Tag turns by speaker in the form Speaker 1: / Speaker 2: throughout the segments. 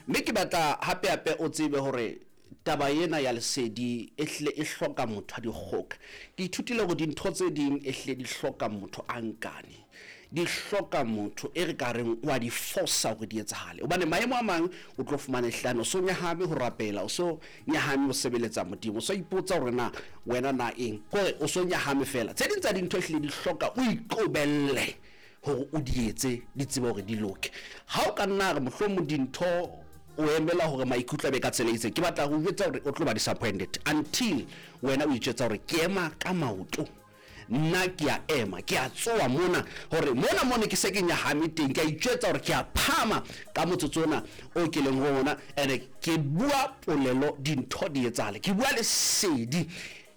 Speaker 1: Mme ke batla hape hape o tsebe hore taba ena ya lesedi e hlile e hloka motho a dikgoka. Ke ithutile hore dintho tse ding e hlile di hloka motho a nkane. Di hloka motho e re ka reng wa di fosa hore di etsahale. Hobane maemo a mang o tlo fumana ehlane o so nyahame ho rapela, o so nyahame ho sebeletsa Modimo, o so ipotsa hore na wena na eng. Kore o so nyahame fela. Tse ding tsa dintho ehlile di hloka o iqobelle hore o di etse, di tsebe hore di loke. Ha o ka nna re mohlomong dintho o emela hore maikutlo a be ka tsela e itseng, ke batla ho jwetsa hore o tlo ba disappointed until wena o itjwetsa hore ke ema ka maoto. Nna ke a ema, ke a tsoa mona hore mona mone ke se ke nyahame teng, ke a itjwetsa hore ke a phama ka motsotso ona o ke leng ho ona, ene ke bua polelo dintho di etsahale, ke bua lesedi.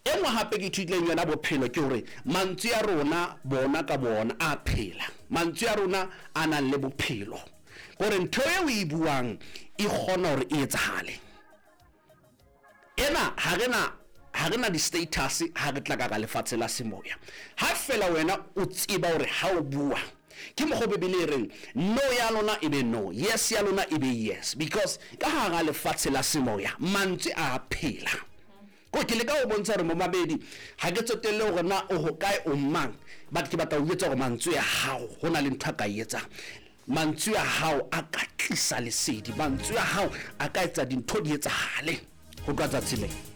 Speaker 1: E nngwe hape ke ithutileng yona bophelo ke hore mantswe a rona bona ka bona a phela, mantswe a rona a nang le bophelo, kore ntho eo o e buang e kgona hore e etsahale. Ena ha re na ha re na di-status ha re tla ka ka lefatshe la semoya. Ha fela wena o tseba hore ha o bua ke mokgwa Bibele e reng no ya lona e be no, yes ya lona e be yes, because ka hara lefatshe la semoya mantswe a phela. Ko ke leka ho bontsha hore momamedi ha ke tsotelle hore na o hokae o mang, but ke batla ho jwetsa hore mantswe a hao ho na le ntho a ka e etsang. Mantswe a hao a ka tlisa lesedi, mantswe a hao a ka etsa dintho di etsahale ho tloha tsatsi lena.